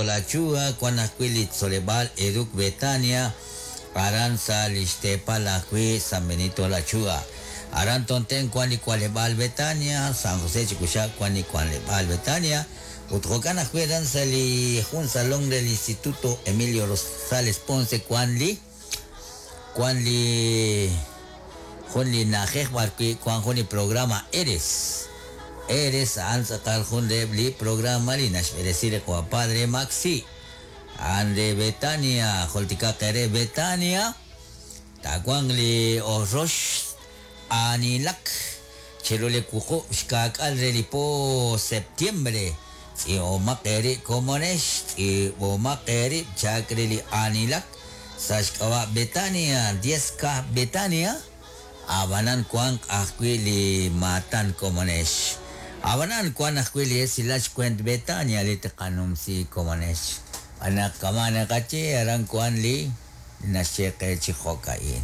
La Chua, wan ajwi' li tzoleb'aal Educ Betania, aran sa' li xteepal ajwi' San Benito La Chua. Aran Tonten wan li k'aleb'aal Betania, San José Chikuxab' wan li k'aleb'aal Betania, ut jo'kan ajwi' aran sa' li jun salón del Instituto Emilio Rosales Ponce wan li jun li na'ajej b'ar wi' wan jun li programa Eres. Eres a'an tz'aqal jun reheb' li programa li naxb'eresi li qawa Padre Maxi. A'an re Betania, jultikaq eere Betania, taawanq li rox aanilak chiru li wuqub' xkaak'al re li po septiembre. Tz'iib'omaq eerib' komonex, tz'iib'omaq eerib' chak re li aanilak sa' xk'ab'a' Betania, 10K Betania, ab'anan wanq ajwi' li maatan komonex. Ab'anan wan ajwi' li esilal xkwent Betania li tqanumsi komonex. B'anaq kama' naqaye aran wan li naxye qe chi jo'ka'in.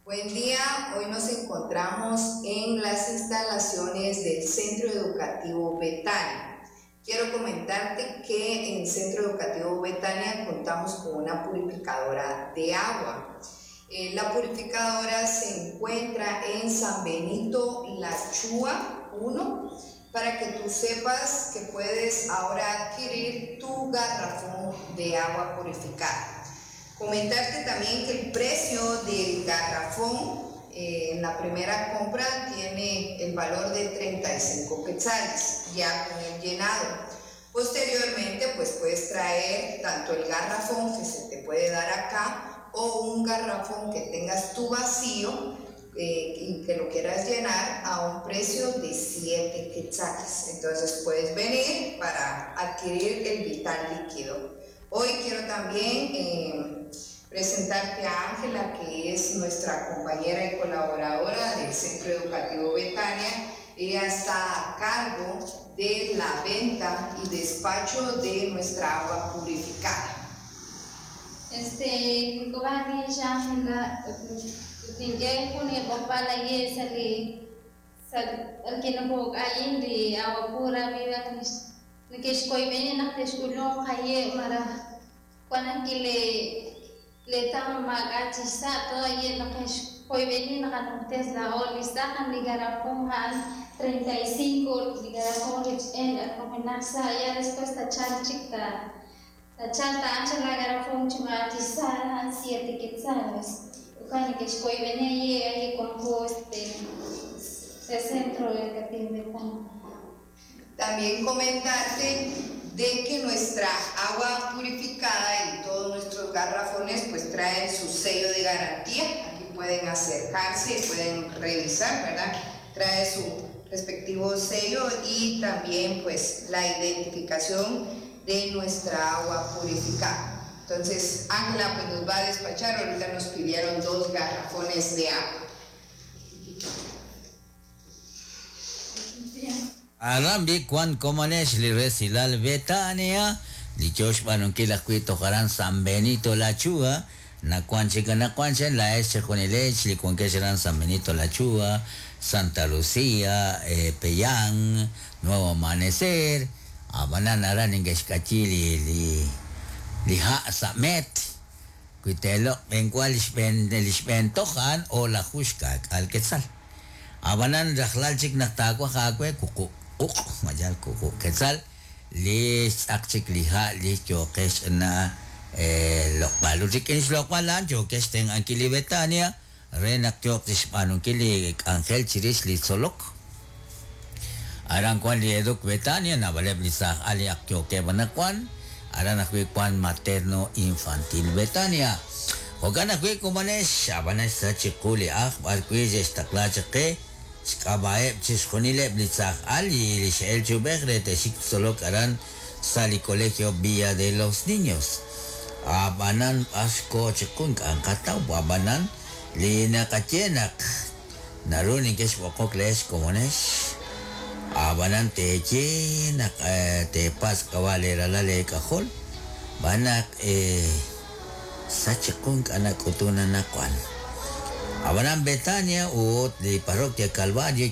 Buen día, hoy nos encontramos en las instalaciones del Centro Educativo Betania. Quiero comentarte que en el Centro Educativo Betania contamos con una purificadora de agua. La purificadora se encuentra en San Benito La Chua 1, para que tú sepas que puedes ahora adquirir tu garrafón de agua purificada. Comentarte también que el precio del garrafón en la primera compra tiene el valor de 35 quetzales, ya con el llenado. Posteriormente, pues puedes traer tanto el garrafón que se te puede dar acá o un garrafón que tengas tú vacío y que lo quieras llenar a un precio de 7 quetzales. Entonces puedes venir para adquirir el vital líquido. Hoy quiero también presentarte a Ángela, que es nuestra compañera y colaboradora del Centro Educativo Betania. Ella está a cargo de la venta y despacho de nuestra agua purificada. Ángela, de agua pura viva le tama 35 ya después la garrafón 7 quetzales. Centro Educativo. También comentarte de que nuestra agua purificada y todos nuestros garrafones pues traen su sello de garantía. Aquí pueden acercarse y pueden revisar, ¿verdad? Trae su respectivo sello y también pues la identificación de nuestra agua purificada. Entonces Ángela pues nos va a despachar. Ahorita nos pidieron 2 garrafones de agua. Arambi kwan komonex li resilal Betania, li yox b'anunkil ajwi' tojaran San Benito La Chua, nakuan chika nakuan chen la es chejunilech, li kuankex aran San Benito La Chua, Santa Lucía, Peyán, Nuevo Amanecer, abanan aran ingexkachi li ha samet, kuitelo benkual lixben tojan o la jushkak al quetzal. Abanan rajlal chik naktakwa jakwe kuku uq mayal kuku quetzal li tz'aq chik li ha li yoqex na loq'b'al rik'in xloq'b'alan yoqex ten ankili Betania re naq yoq tixb'anunkil li k'anjel chirix li tzolok. Aran kwan li Educ Betania nabaleb li saj ali ak yoqeb'anakwan aran ajwi' kwan materno infantil Betania. Jo'kan ajwi' kumanex abanex sa chiqu li aj b'arwi' xe'xtaqla chiqe xk'ab'a'eb' chixjunileb' li tzaj ali li xe'el chub'ej re te'xik tzolok aran sa li Colegio Villa de los Niños. Ab'anan b'axko chiqu nk'anqataw ab'anan li naqaye naq naru ninkex b'oqok leex komonex ab'anan teeye naq teepas k'ab'a' leeralal leek'ajol b'anaq sa chiqu nk'anak'utuna naqwan. Abanan Betania ut li parroquia Calvario.